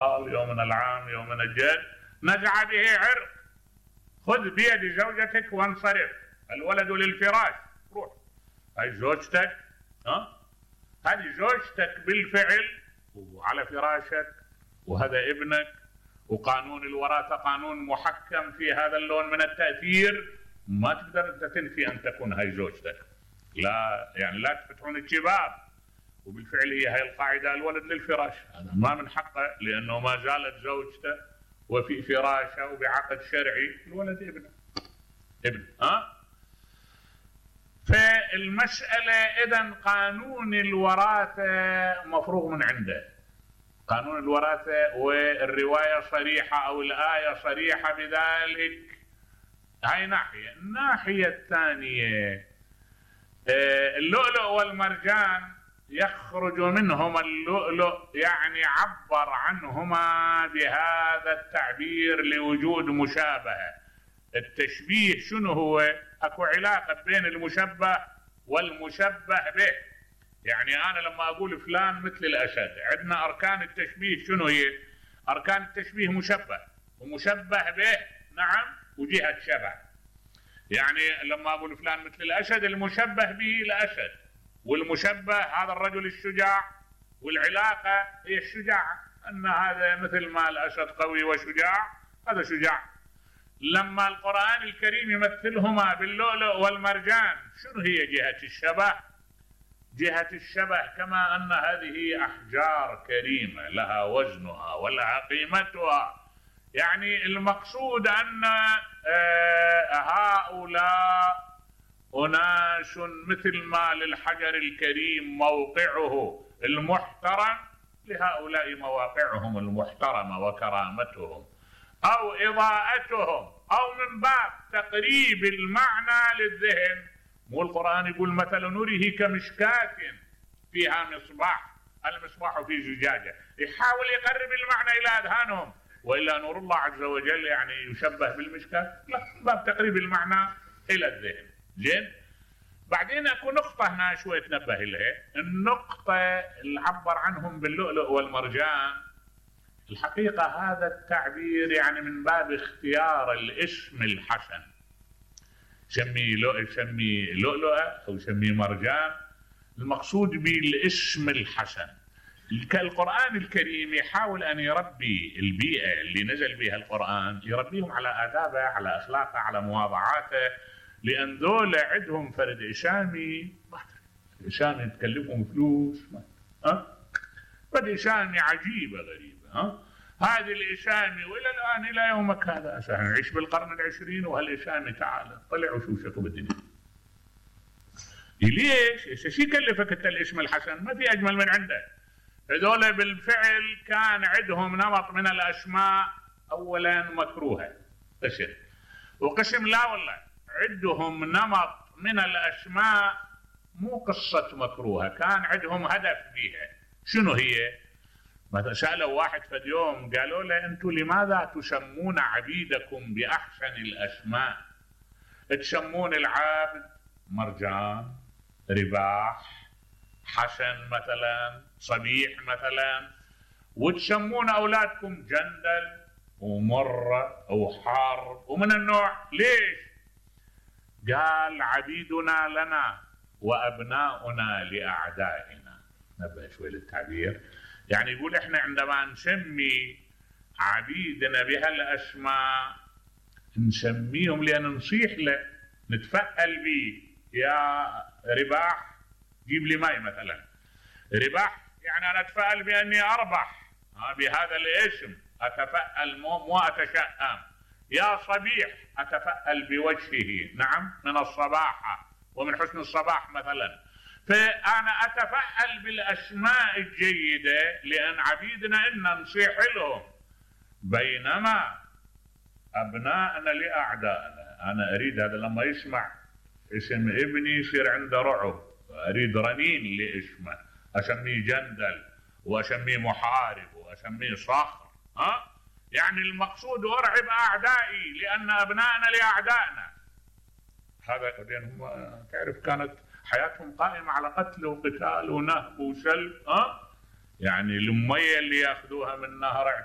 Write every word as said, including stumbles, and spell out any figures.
يومنا العام يومنا الجد نزع به عرق. خذ بيد زوجتك وانصرف، الولد للفراش، روح. هاي زوجتك، ها؟ هذه زوجتك بالفعل وعلى فراشك، وهذا ابنك، وقانون الوراثة قانون محكم في هذا اللون من التأثير، ما تقدر انت تنفي ان تكون هاي زوجتك. لا يعني لا تفتحون الشباب، وبالفعل هي هاي القاعدة، الولد للفراش، هذا ما من حقه لأنه ما زالت زوجته وفي فراشه وبعقد شرعي، الولد ابنه ابن ها. فالمسألة إذن قانون الوراثة مفروغ من عنده، قانون الوراثة، والرواية صريحة أو الآية صريحة بذلك. هاي ناحية. الناحية الثانية اللؤلؤ والمرجان يخرج منهما اللؤلؤ، يعني عبر عنهما بهذا التعبير لوجود مشابهة. التشبيه شنو هو؟ اكو علاقة بين المشبه والمشبه به. يعني انا لما اقول فلان مثل الاسد، عندنا اركان التشبيه شنو هي؟ اركان التشبيه مشبه ومشبه به، نعم، وجهة شبه. يعني لما اقول فلان مثل الاسد، المشبه به الاسد، والمشبه هذا الرجل الشجاع، والعلاقة هي الشجاعة، أن هذا مثل ما الأسد قوي وشجاع، هذا شجاع. لما القرآن الكريم يمثلهما باللؤلؤ والمرجان، شنو هي جهة الشبه؟ جهة الشبه كما أن هذه أحجار كريمة لها وزنها ولها قيمتها. يعني المقصود أن هؤلاء أناس مثل ما للحجر الكريم موقعه المحترم، لهؤلاء مواقعهم المحترمة وكرامتهم أو إضاءتهم، أو من باب تقريب المعنى للذهن. مو القرآن يقول مثل نوره كمشكاة فيها مصباح، المصباح في زجاجة، يحاول يقرب المعنى إلى أذهانهم، وإلا نور الله عز وجل يعني يشبه بالمشكاة؟ لا، من باب تقريب المعنى إلى الذهن. زين. بعدين اكو نقطة هنا شوي تنبه لها، النقطة اللي عبر عنهم باللؤلؤ والمرجان. الحقيقة هذا التعبير يعني من باب اختيار الاسم الحسن، سمي لؤلؤ سمي لؤلؤة او سمي مرجان، المقصود بالاسم الحسن. القرآن الكريم يحاول ان يربي البيئة اللي نزل بها القرآن، يربيهم على آدابه، على اخلاقه، على مواضعاته، لأن ذول عندهم فرد إشامي، إشامي تكلفهم فلوس، ها؟ فرد إشامي عجيبة غريبة، ها؟ هذه الإشامي وإلى الآن إلى يومك هذا أساسا نعيش بالقرن العشرين وهالإشامي تعال طلع وشوف شكو بالدنيا. ليش؟ ايش يكلفك انت الاسم الحسن؟ ما في أجمل من عنده. هذول بالفعل كان عندهم نمط من الأسماء، أولا مكروهة قسم، وقسم لا والله عندهم نمط من الأسماء مو قصة مكروهة، كان عندهم هدف فيها. شنو هي؟ مثلا سألوا واحد في اليوم قالوا له أنتم لماذا تسمون عبيدكم بأحسن الأسماء؟ تسمون العابد مرجان، رباح، حسن مثلا، صبيح مثلا، وتسمون أولادكم جندل ومرة وحرب ومن النوع. ليش؟ قال عبيدنا لنا وأبناؤنا لأعدائنا. نبه شوي للتعبير، يعني يقول احنا عندما نسمي عبيدنا بهالأسماء نسميهم لأن نصيح له، نتفأل به. يا رباح جيب لي ماي مثلا، رباح يعني أنا أتفأل بأني أربح بهذا الاسم، أتفأل مو, مو أتشأم. يا صبيح أتفأل بوجهه، نعم، من الصباحة ومن حسن الصباح مثلا. فأنا أتفأل بالأسماء الجيدة لأن عبيدنا إن نصيح لهم، بينما أبناءنا لأعدائنا. أنا أريد هذا لما يسمع اسم ابني يصير عنده رعب، أريد رنين لاسمه، أسميه جندل وأسميه محارب وأسميه صخر، ها؟ يعني المقصود أرعب أعدائي لأن أبنائنا لأعدائنا. هذا هم تعرف كانت حياتهم قائمة على قتل وقتال ونهب وسلب، ها؟ يعني المية اللي ياخذوها من نهر